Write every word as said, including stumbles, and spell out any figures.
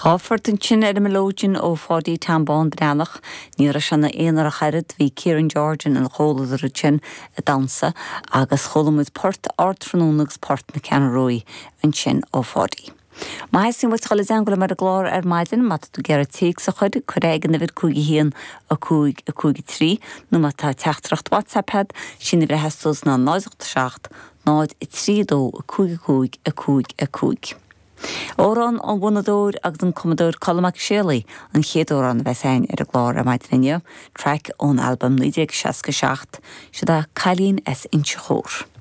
Dhá phort ansin ar an mileoidean ó Pháidí Tom Bán Breathnach, ní raibh sé ina aonar ach oiread, bhí Kieran George ina chomhluadar ansin ag damhsa agus chuala muid port Ardtráthnóna agus port na Ceathrún Rua ansin ó Pháidí. Má theastaíonn uait dul i dteagmháil liom ar an gclár ar maidin má tá tú ag iarraidh téacs a chur cuir é ag an uimhir cúig a haon a cúig a cúig a trí nó má tá teachtaireacht WhatsApp agat sin a bhreithe ná náid seacht náid a trí dó a cúig a cúig a cúig a cúig. Amhrán ón bhfonnadóir agus an cumadóir Colm Mac Séalaigh an chéad amhrán a bheas againn ar an gclár ar maidin inniu, traic ón albam naoi déag seasca seacht, seo é Cailín as Inse Chór.